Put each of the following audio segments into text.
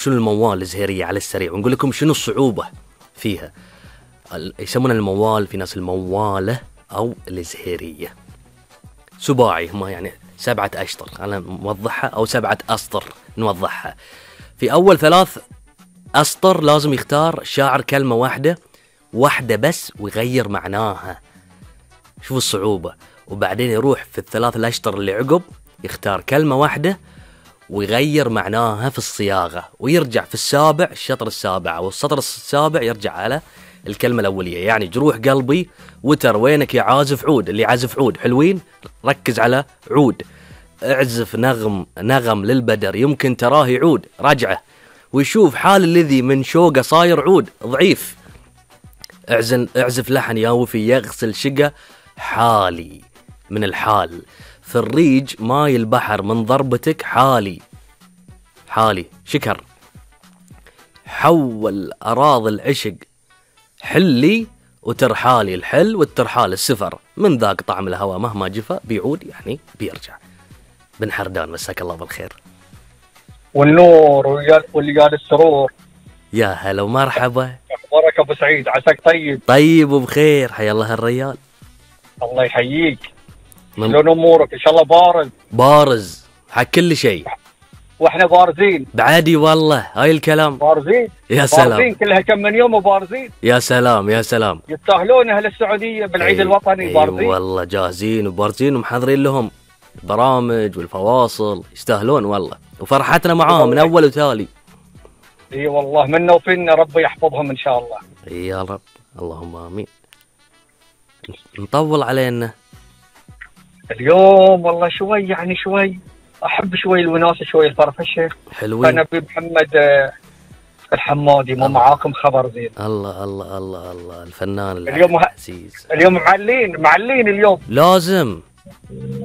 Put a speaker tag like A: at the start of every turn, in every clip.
A: شنو الموال الزهيرية على السريع، ونقول لكم شنو الصعوبة فيها. يسمونها الموال، في ناس الموالة أو الزهيرية. سباعي، هما يعني 7 أشطر، أنا نوضحها، أو 7 أسطر نوضحها. في أول 3 أسطر لازم يختار الشاعر كلمة واحدة بس ويغير معناها. شوف الصعوبة. وبعدين يروح في ال3 الأشطر اللي عقب يختار كلمة واحدة ويغير معناها في الصياغة، ويرجع في السابع، الشطر السابع أو السطر السابع، يرجع على الكلمة الأولية. يعني جروح قلبي، وتر وينك يا عازف عود. اللي عازف عود حلوين، ركز على عود. اعزف نغم للبدر، يمكن تراه يعود. رجعه ويشوف حال الذي من شوقه صاير عود ضعيف. اعزف لحن يا وفي يغسل شقة حالي من الحال. في الريج ماي البحر من ضربتك حالي شكر. حول أراضي العشق حلي وترحالي. الحل والترحال السفر، من ذاك طعم الهوى مهما جفا بيعود، يعني بيرجع. بن حردان، مساك الله بالخير
B: والنور واللي السرور.
A: يا هلا ومرحبا.
B: اخبارك ابو سعيد؟ عساك
A: طيب وبخير. حيا الله الريال.
B: الله يحييك. شلون امورك؟ ان شاء الله
A: بارز حق كل شيء،
B: واحنا بارزين
A: بعادي والله. هاي الكلام
B: بارزين.
A: يا سلام،
B: بارزين كلها كم من يوم وبارزين.
A: يا سلام يا سلام.
B: يستاهلون اهل السعوديه بالعيد الوطني. بارزين
A: والله، جاهزين وبارزين ومحضرين لهم البرامج والفواصل. يستاهلون والله، وفرحتنا معاهم من اول وتالي.
B: اي والله، منا وفينا، ربي يحفظهم ان شاء الله.
A: يا رب، اللهم امين. نطول علينا
B: اليوم والله شوي، يعني شوي احب شوي الوناسه، شوي الفرفشه.
A: حلوين.
B: انا بمحمد الحمادي، مو معاكم خبر زين.
A: الله الله الله الله، الفنان
B: اليوم
A: العزيز.
B: اليوم معلين اليوم.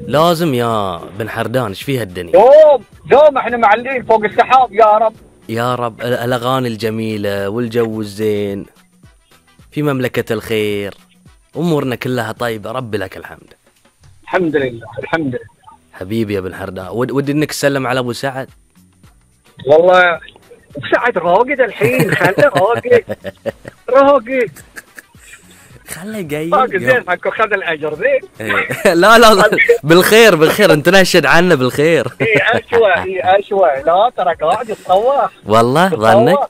A: لازم يا بن حردان. ايش فيها الدنيا؟
B: يوم احنا معلين فوق السحاب. يا رب
A: الاغاني الجميله والجو الزين في مملكه الخير، امورنا كلها طيبه. ربي لك الحمد.
B: الحمد لله الحمد لله.
A: حبيبي يا بن حردان، ودي انك تسلم على ابو سعد.
B: والله ابو سعد راقد الحين، خله راقد
A: خله جاي
B: زين حقه، خذ الاجر زين.
A: لا بالخير انت نشد عنه بالخير.
B: اشوى لا ترى قاعد يتطوح
A: والله. ظنك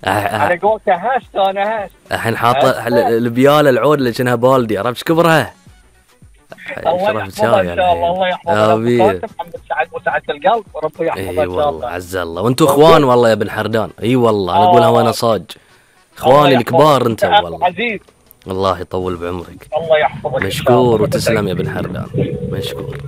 B: على قولته هست. انا هست
A: الحين حاط البياله العود اللي كأنها بالدي، عرفت كبرها.
B: الله يحفظها ان شاء الله. الله يحفظها محمد سعد وسعة القلب، وربي يحفظها ان شاء الله.
A: عز الله. وانتم اخوان والله يا بن حردان. اي والله، انا اقولها وانا صاج. اخواني الكبار انت والله.
B: عزيز،
A: الله يطول بعمرك.
B: الله يحفظك.
A: مشكور وتسلم يا بن حردان، مشكور.